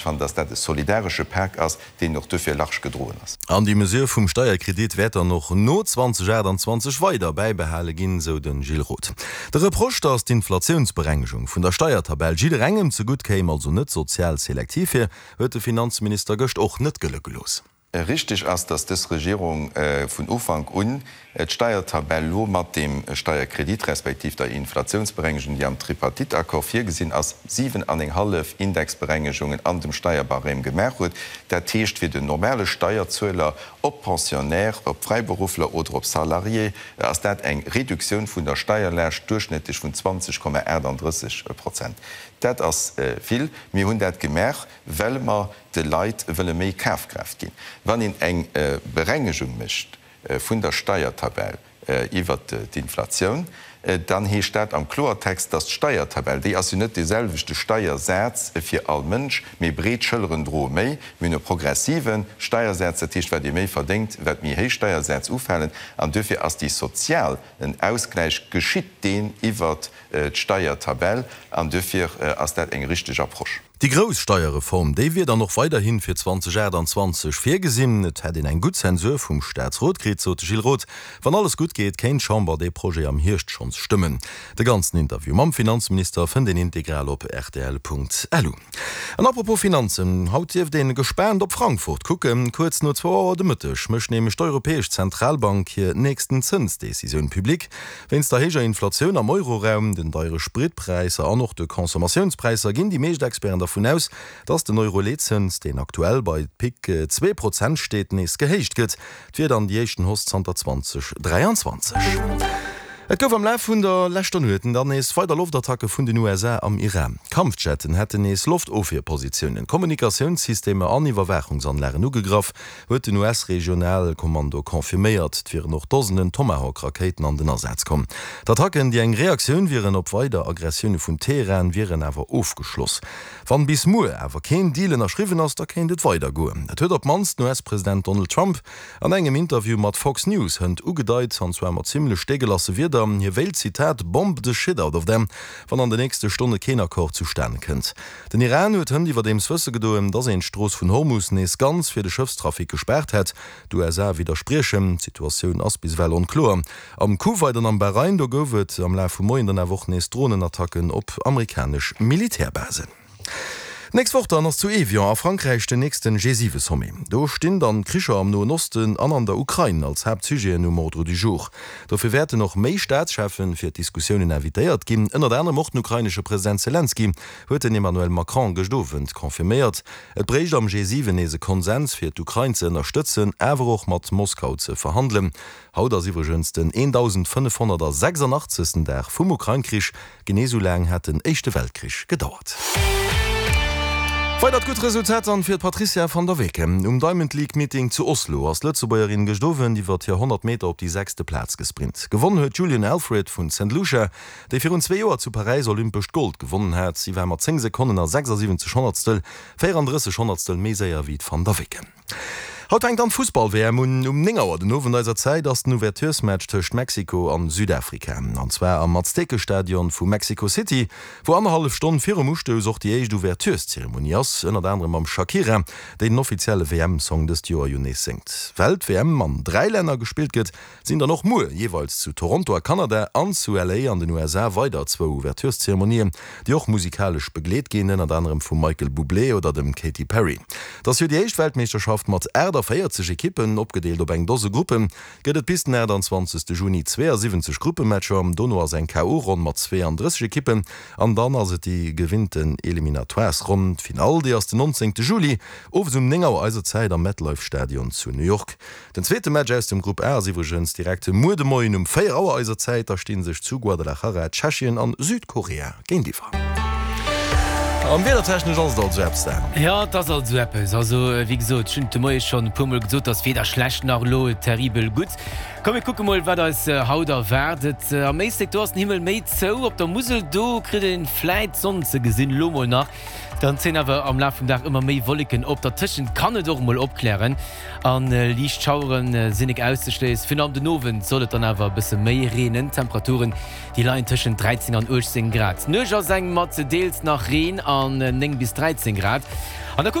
Fannen, dass dat e solidaresche Pak ass, deen och duerfir large gedroen ass. An déi Mesure vum Steierkredit wäert dann och no 2028 weider bäibehale ginn, sou de Gilles Roth. De Reproche, datt d'Inflatiounsberengegung vun der Steiertabell jidderengem zegutt kéim, also net sozial selektiv wier, huet de Finanzminister gëscht och net gëlle gelooss. Richtig ass, dass dës Regierung vun Ufank un d'Steiertabell elo mat deem Steierkredit respektiv der Inflationsberengegung, déi am Tripartite-Accord virgesinn ass, siwenanenghallef Indexberengegungen an dem Steierbarème gemaach huet. Dat heescht fir den normale Steierzueler, ob Pensionnaire, ob Fräiberuffler oder ob Salarié, ass dat eng Reduktioun vun der Steierlaascht duerchschnëttlech vun 20,38 Prozent. Dat ass vill. Mir hunn dat gemaach, well mer de Leit wëlle méi Kafkraaft ginn. Wann een eng Berengegung mécht vun der Steiertabell iwwert d'Inflatioun, dann heescht dat am Kloertext, dass d'Steiertabell, déi ass jo net dee selwechte Steiersaz fir all Mënsch, mee breet Schëlleren droe méi. Mir hunn e progressive Steiersaz, dat heescht, wat ee méi verdéngt, wat méi héich Steiersätz ufalen. An duerfir ass déi sozial en Ausgläich geschitt deen iwwert d'Steiertabell an duerfir ass dat eng richteg Approche. Déi grouss Steierreform, déi wier dann och weiderhi fir 2028 virgesinn. Et hätt een eng gutt Zensur vum Staatsrot kritt, sot de Gilles Roth. Wann alles gutt geet, kéint d'Chamber dee Projet am Hierscht schonns stëmmen. De ganzen Interview mam Finanzminister fënnt een integral op rtl.lu. An apropos Finanzen, haut dierft een gespaant op Frankfurt kucken. Kuerz no zwou Auer de Mëtteg mécht nämlech d'Europäesch Zentralbank hir nächsten Zënsdecisioun public. Wéinst der héijer Inflatioun am Euroraum, den deiere Spritpräisser an och de Consommatiounspräisser ginn déi meescht Experten dervun aus, datt den Euro-Leetzëns, deen aktuell bei Pic 2 Prozent steet, nees gehéicht gëtt. Et wier dann déi éischten Hausse zanter 2023. Et gouf am Laf vun der leschter Nuet dann nees weider Loftattacke vun den USA am Iran. Kampfjetten hätten nees Loftofwierpositiounen, Kommunikatiounssystemer an Iwwerwaachungsanlagen ugegraff. huet den US-Regionalkommando confirméiert. Et wieren och Dosenen Tomahawk-Rakéiten an den Asaz komm. D'Attacken, déi eng Reaktioun wieren op weider Aggressioune vun Teheran, wieren awer ofgeschloss. Wann bis muer awer keen Deal ënnerschriwwen ass, da kéint et weider goen. Dat huet op d'mannst den US-President Donald Trump an engem Interview mat Fox News hënt ugedeit, an zwar mat zimmlech deegelasse Wierder. Hie wéilt, Zitat, bomb the shit out of them, wann an de nächste Stonne keen Accord zustane kënnt. Den Iran huet hënt iwwerdeems wësse gedoen, datt een d'Strooss vun Hormus nees ganz fir de Schëffstrafic gespaart hätt. D'USA widderspriechen. D'Situatioun ass bis ewell onkloer. Am Kuwait an am Bahrain, do gouf et am Laf vum Moien dann awer och nees Dronenattacken op amerikanesch Militärbasen. D'nächst Woch dann ass zu Evian a Frankräich den nächsten G7-Sommet. Do stinn dann d'Kricher am Noen Osten an an der Ukrain als Haaptsujeten um Ordre du jour. Dofir wäerten och méi Staatscheffen fir d'Diskussiounen invitéiert ginn, ënnert anerem och den ukrainesche President Selenskyj, huet den Emmanuel Macron gëscht Owend confirméiert. Et bréicht am G7 nees e Konsens fir d'Ukrain ze ënnerstëtzen, awer och mat Moskau ze verhandelen. Haut ass iwwregens den 1586. Dag vum Ukrain-Krich. Genee sou laang hat den Éischte Weltkrich gedauert. Weidert gutt Resultat dann fir d'Patrizia van der Weken. Um Diamond League Meeting zu Oslo ass d'Lëtzebuergerin gëscht Owend iwwert hir 100 Meter op déi sechste Plaz gesprint. Gewonnen huet d'Julian Alfred vun Saint Lucia, déi virun zwee Joer zu Paräis olympescht Gold gewonnen hat. Si war mat 10 Sekonnen a 76 Honnertstel 34 Honnertstel méi séier wéi d'Van der Weken. Haut fänkt dann d'Fussball-WM un. Um 9 Auer den Owend eiser Zäit ass den Ouverturesmatch tëscht Mexiko an Südafrika. An zwar am Aztekestadion vu Mexico City, wou annerhallef Stonn virum Ustouss och déi éischt Ouvertureszeremonie ass, ënnert anerem mam Shakira, déi den offizielle WM-Song dëst Joer jo nees séngt. Well d'WM an 3 Länner gespillt gëtt, sinn dann och muer jeeweils zu Toronto a Kanada an zu LA an den USA weider zwou Ouvertureszeremonien, déi och musikalesch begleet ginn, ënnert anerem vum Michael Bublé oder dem Katy Perry. Et ass jo déi éischt Weltmeeschterschaft mat 48 Ekippen, opgedeelt op eng Dose Gruppen, gëtt et bis den 28 Juni 72 Gruppematcher, dono ass eng KO-Ronn mat 32 Ekippen an dann ass et déi gewinnten Eliminatoires-Ronn. D'Finall, déi ass den 19 Juli owes um 9 Auer eiser Zäit am MetLife Stadion zu New York. Den zweete Match aus dem Grupp A ass iwwregens direkt muer de Moien um 4 Auer eiser Zäit. Da sti sech zu Guadalajara Tschechien an Südkorea géintiwwer. An wiedertechnesch ass et also eppes da. Jo, et ass also eppes. Also, wéi gesot, ech hunn et de Moie schonn e puermol gesot, dass weder schlecht nach elo terribel gutt. Komm, mir kucke mol, wat eis haut erwaart. Et am Éislek, do ass den Himmel méi zou. Op der Musel, do kritt ee vläit d'Sonn ze gesinn, elo mol nach. Dann zéien awer am Laf vum Dag ëmmer méi Wolleken op. Dertëschent kann et och emol opklären an liicht Schauere sinn nek auszeschléissen. Virun allem den Owend soll et dann awer e bësse méi reenen. D'Temperaturen, déi leien tëschent 13 an 18 Grad. D'Nuecht ass eng mat deels nach Reen an 9 bis 13 Grad. An da kucke.